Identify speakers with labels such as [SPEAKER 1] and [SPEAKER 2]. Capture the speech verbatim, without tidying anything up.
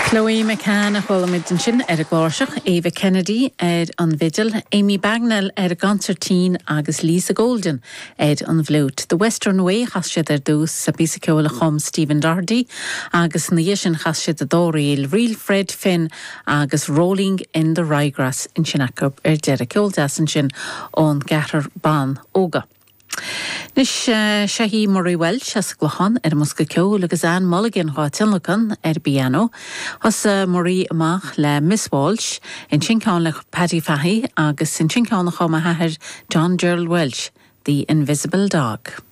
[SPEAKER 1] Chloe McCann a chuala muid ansin ar an gcláirseach, Ava Kennedy ar an bhfidil, Amy Bagnell ar an gconsairtín agus Lisa Golden ar an bhfliúit. The Western Way chas siad ar dtús sa bpíosa ceoil a chum Stephen Doherty agus ina dhiaidh sin chas siad an dá ríl Reel Fred Finn agus Rolling in the Ryegrass ansin acu ar deireadh ceol deas ansin ón gceathrar ban óga. Anois seo í Murray Welch as an gClochán ar an mbosca ceoil agus Anne Mulligan á tionlacan ar an bpianó. Thosaigh Murray amach le Miss Walsh, ansin ceann le Paddy Fahey agus ansin ceann a chum a hathair John Gerald Welch, The Invisible Dog.